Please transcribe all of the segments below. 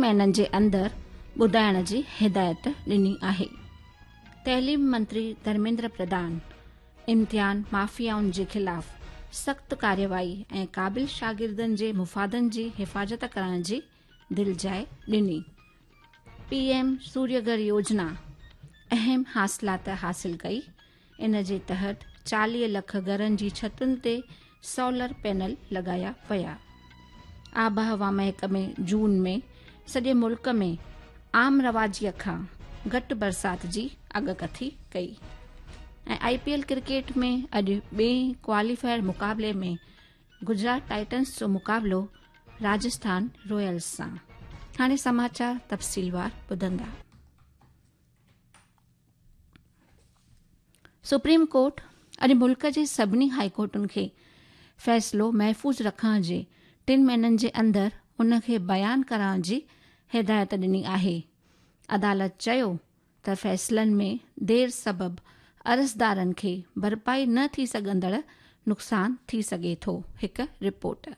مهينن جي اندر ٻڌائڻ جي هدايت ڏني آهي. تعليم منتري ڌرميندر پرڌان امتحان مافيائن جي خلاف سخت ڪارروائي ۽ قابل شاگردن جي مفادن جي حفاظت ڪرڻ جي دلجاء ڏني. پي ايم سوريه گهر يوجنا اهم حاصلات حاصل ڪئي، ان جي تحت 40 لک گهرن جي ڇتن تي سولر پينل لڳايا ويا. آبهوا محڪمي جون ۾ سڄي ملڪ ۾ عام رواجي کان گهٽ برسات جي اڳڪٿي ڪئي ۽ آء پي ايل ڪرڪيٽ ۾ اڄ ٻئي ڪواليفائر مقابلي ۾ گجرات ٽائٽنز جو مقابلو راجسٿان رائلز سان. هاڻي سماچار تفصيلوار ٻڌندا. سپريم ڪورٽ اڄ ملڪ جي سڀني هائي ڪورٽن کي فيصلو محفوظ رکڻ جي ٽن مهينن جي اندر ان کي بيان ڪرڻ جي هدايت ڏني آهي. عدالت چيو ته فيصلن ۾ دير سبب عرضدارن کي ڀرپائي نه ٿي سگهندڙ نقصان ٿي سگهي ٿو. هڪ رپورٽ.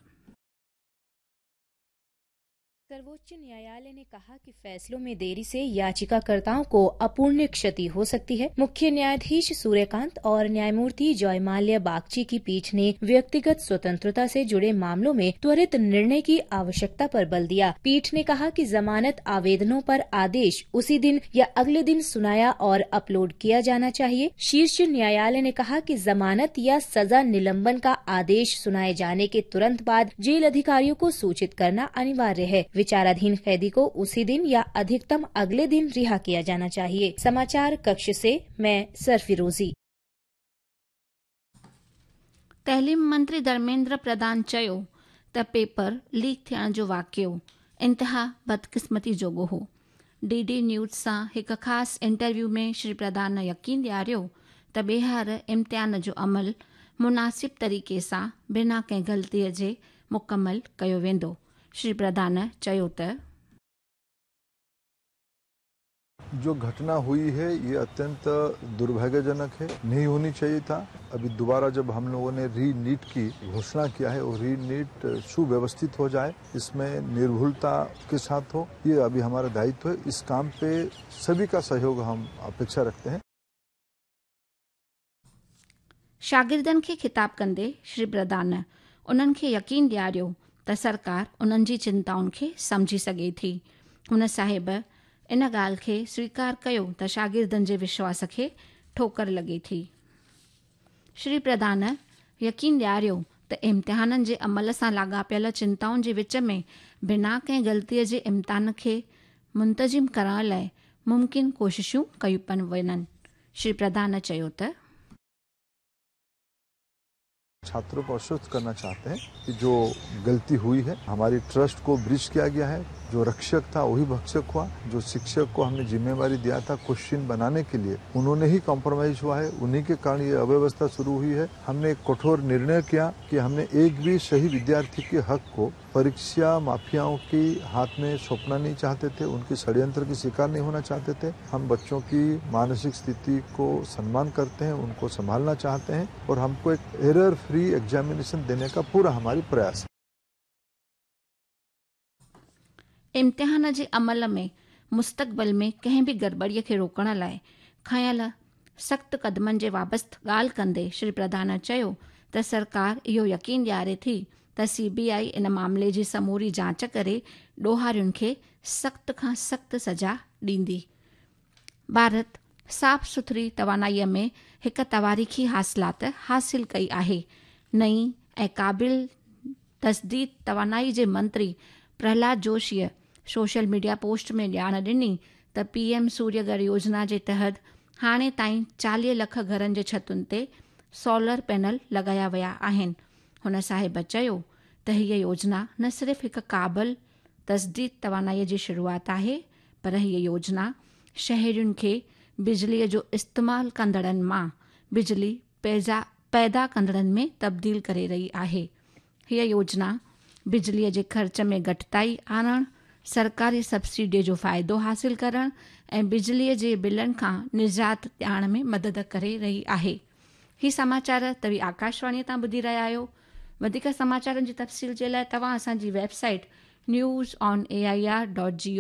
सर्वोच्च न्यायालय ने कहा कि फैसलों में देरी से याचिकाकर्ताओं को अपूर्ण क्षति हो सकती है। मुख्य न्यायाधीश सूर्यकांत और न्यायमूर्ति जॉयमाल्य बागची की पीठ ने व्यक्तिगत स्वतंत्रता से जुड़े मामलों में त्वरित निर्णय की आवश्यकता पर बल दिया। पीठ ने कहा कि जमानत आवेदनों पर आदेश उसी दिन या अगले दिन सुनाया और अपलोड किया जाना चाहिए। शीर्ष न्यायालय ने कहा कि जमानत या सजा निलंबन का आदेश सुनाए जाने के तुरंत बाद जेल अधिकारियों को सूचित करना अनिवार्य है। विचाराधीन कैदी को उसी दिन या अधिकतम अगले दिन रिहा किया जाना चाहिए। समाचार कक्ष से मैं सरफिरोजी। تعليم منتري ڌرميندر پرڌان چيو ته پيپر ليڪ ٿيڻ جو واقعو انتها بدقسمتي جوڳو هو. ڊي ڊي نيوز سان هڪ خاص انٽرويو ۾ شري پرڌان يقين ڏياريو ته ٻيهر امتحان جو عمل مناسب طريقي سان بنا ڪنهن غلطي جي مڪمل ڪيو ويندو. شري پرڌان چيو ته. جو گهٽنا هئي هي يه اتينت درڀاگيجنڪ هي، نهين هوني چاهيي ٿا. اڀي دوبارا جب هم لوگون ني ري نيٽ ڪي گهوشنا ڪيا هي وو ري نيٽ سوويوسٿت هو جائي، اس مين نرڀولتا ڪي ساٿ هو، يه اڀي همارا دايتو هي، اس ڪام پي سڀي ڪا سهيوگ هم اپيڪشا رکتي هين. شاگردن کي خطاب ڪندي شري پرڌان انهن کي يقين ڏياريو ته سرڪار انهن جي چنتائن کي سمجهي سگهي ٿي. هن صاحب ان ڳالهه کي سويڪار ڪيو ته شاگردن جي وشواس کي ٺوڪر لڳي ٿي. شري پرڌان يقين ڏياريو ته امتحانن جي عمل سان لاڳاپيل چنتائن جي وچ ۾ بنا ڪنهن غلطي جي امتحان کي منتظم ڪرڻ لاء ممڪن ڪوششون ڪيون پيون وڃن. شري پرڌان چيو ته. ڇاترون ڪو آشوست ڪرنا چاهتي هين ڪي جو غلطي هئي هي هماري ٽرسٽ ڪو بريچ ڪيا گيا هي جو رڪشڪ ٿا وهي ڀڪشڪ هئا جو شڪشڪ ڪو همني ذميواري ديا ٿا ڪوشچن بناني ڪي ليي انهون ني هي ڪمپرومائيز هئا هي انهي ڪي ڪارڻ يي اويوسٿا شروع هئي هي همني ايڪ ڪٺور نرڻي ڪيا ڪي همني ايڪ ڀي سهي وديارٿي ڪي حق ڪو پريڪشا مافيائون ڪي هاٿ ۾ سونپنا نهين چاهتي ٿي، انڪي षड्यंत्र ڪي شڪار نهين هونا چاهتي ٿي، هم بچون ڪي مانسڪ استٿي ڪو سنمان ڪرتي هين، انڪو سنڀالنا چاهتي هين اور همڪو ايڪ ايرر فري ايگزامينيشن ديني ڪا پورا هماري پرياس هي. امتحان جي عمل ۾ مستقبل ۾ ڪنهن به گڙٻڙي کي روڪڻ لاء کنيل سخت قدمن جي بابت ڳالهه ڪندي شري پرڌان چيو ته سرڪار اهو يقين ڏياري ٿي ته سي بي آء ان معاملي جي سموري جاچ ڪري ڏوهارين کي سخت کان سخت سزا ڏيندي. ڀارت صاف سٿري توانائي ۾ هڪ تواريخي حاصلات حاصل ڪئي آهي، نئين ۽ قابل تجديد توانائي جي منتري پرهلاد جوشيء سوشل ميڊيا پوسٽ ۾ ڄاڻ ڏني ته پي ايم سوريه گهر يوجنا جي تحت هاڻي تائين 40 لک گهرن جي ڇتن تي سولر پينل لڳايا ويا آهن. هن صاحب چيو ته هيء يوجنا نه صرف هڪ قابل تجديد توانائي جي شروعات آهي پر هيء يوجنا شهرين کي بجليء جو استعمال ڪندڙن مان بجلي پيدا ڪندڙن ۾ تبديل ڪري رهي آهي. هيء يوجنا بجليء جي خرچ ۾ گهٽتائي آڻڻ، سرڪاري سبسڊيء جو فائدو حاصل ڪرڻ ۽ بجليء جي بلن کان نجات ڏيارڻ ۾ مدد ڪري رهي آهي. هي سماچار توهين آڪاشواڻيء تان ٻڌي رهيا آهيو. وڌيڪ سماچارن جي تفصيل جي لاء توهان اسان جي website News on A I R dot G.